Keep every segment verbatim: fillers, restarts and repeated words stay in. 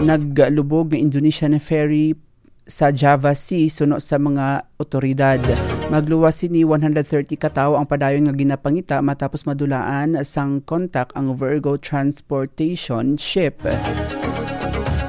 naglubog nga Indonesian ferry sa Java Sea suno sa mga otoridad. Magluwas sini one hundred thirty ka tawo ang padayon nga ginapangita matapos madulaan sang kontak ang Virgo transportation ship.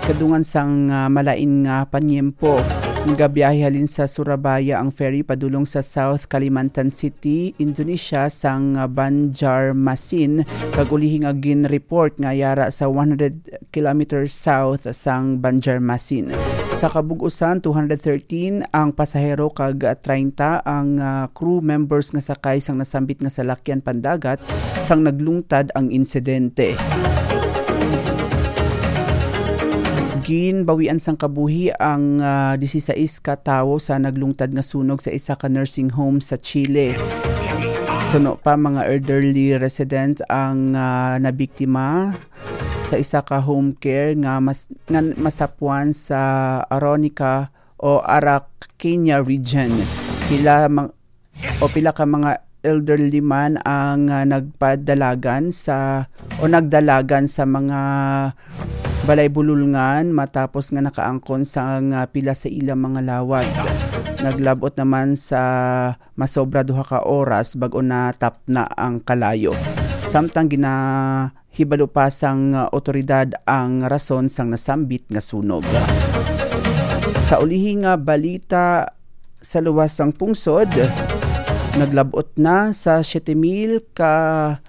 Kadungan sang, ah, malain nga panyempo, nagabiyahe halin sa Surabaya ang ferry padulong sa South Kalimantan City, Indonesia, sang, ah, Banjarmasin, kag ulihi nga gin-report nga yara sa one hundred kilometers south sang Banjarmasin. Sa kabug-usan, two hundred thirteen ang pasahero kag treinta ang, ah, crew members nga sakay sang nasambit nga salakyan pandagat sang naglungtad ang insidente. Ginbawian sang kabuhi ang, ah, disisais ka tawo sa naglungtad nga sunog sa isa ka nursing home sa Chile. Suno pa, mga elderly resident ang, ah, nabiktima sa isa ka home care nga mas-, nga masapwan sa Aronica o Araucania region. Pila mang-, o pila ka mga elderly man ang, ah, nagpadalagan sa, o nagdalagan sa mga balay bululngan matapos nga nakaangkon sang, ah, pila sa ilang mga lawas. Naglabot naman sa masobra duha ka oras bag-o natapna ang kalayo. Samtang ginahibalo pa sang, uh, otoridad ang rason sang nasambit nga sunog. Sa ulihi nga balita, sa luwas sang pungsod, naglabot na sa siyete mil ka,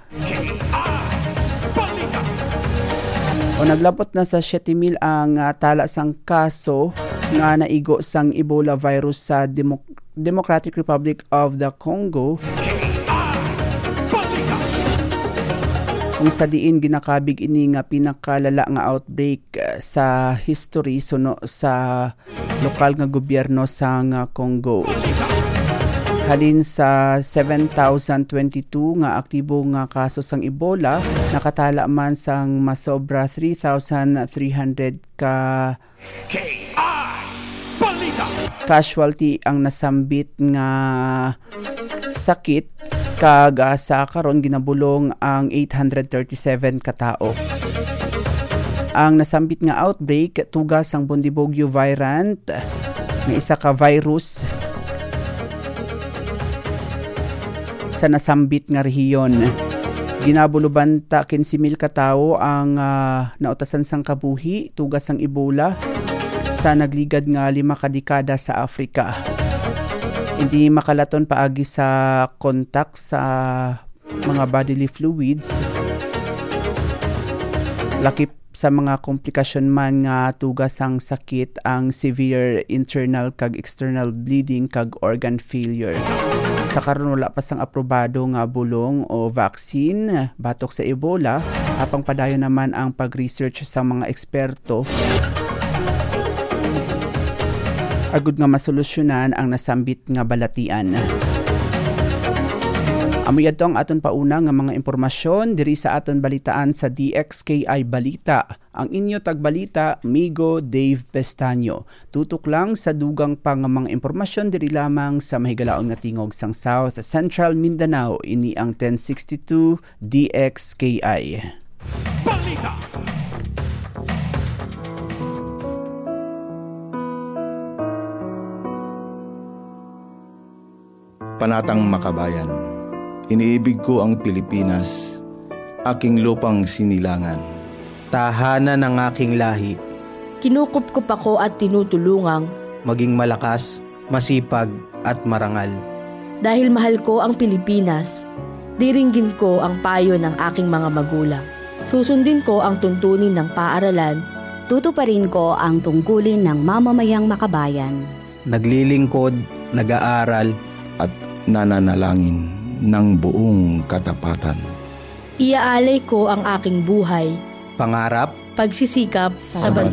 o naglabot na sa siyete mil ang, uh, tala sang kaso nga naigo sang Ebola virus sa Demo-, Democratic Republic of the Congo, kung sa diin ginakabig ini nga pinakalala nga outbreak, eh, sa history suno sa lokal nga gobyerno sang, ah, Congo. Halin sa seven thousand twenty-two nga aktibo nga kaso sang Ebola, nakatala man sang masobra three thousand three hundred ka K I Balita. Casualty ang nasambit nga sakit, kag, ah, sa karon ginabulong ang eight hundred thirty-seven ka tawo. Ang nasambit nga outbreak tuga sang Bundibugyo variant nga isa ka virus sa nasambit nga rehiyon. Ginabulubanta quince mil ka tawo ang, ah, nautasan sang kabuhi tuga sang Ebola sa nagligad nga lima ka dekada sa Africa. Hindi makalaton paagi sa kontak sa mga bodily fluids. Lakip sa mga komplikasyon man nga tuga sang sakit ang severe internal kag external bleeding kag organ failure. Sa karon, wala pa sang aprobado nga bulong o vaccine batok sa Ebola, apang padayon naman ang pag-research sa mga eksperto agud nga masolusyonan ang nasambit nga balatian. Amo yadto ang aton pauna nga mga impormasyon diri sa aton balitaan sa D X K I Balita. Ang inyo tagbalita, Migo Dave Pestaño. Tutok lang sa dugang pa nga mga impormasyon diri lamang sa mahigalaon nga tingog sang South Central Mindanao. Ini ang ten sixty-two D X K I. Balita. Panatang makabayan. Iniibig ko ang Pilipinas, aking lupang sinilangan. Tahanan ng aking lahi. Kinukupkop ako at tinutulungang maging malakas, masipag, at marangal. Dahil mahal ko ang Pilipinas, diringgin ko ang payo ng aking mga magulang. Susundin ko ang tuntunin ng paaralan. Tutuparin ko ang tungkulin ng mamamayang makabayan. Naglilingkod, nag-aaral, at nananalangin ng buong katapatan. Iaalay ko ang aking buhay, pangarap, pagsisikap sa, sa bansa.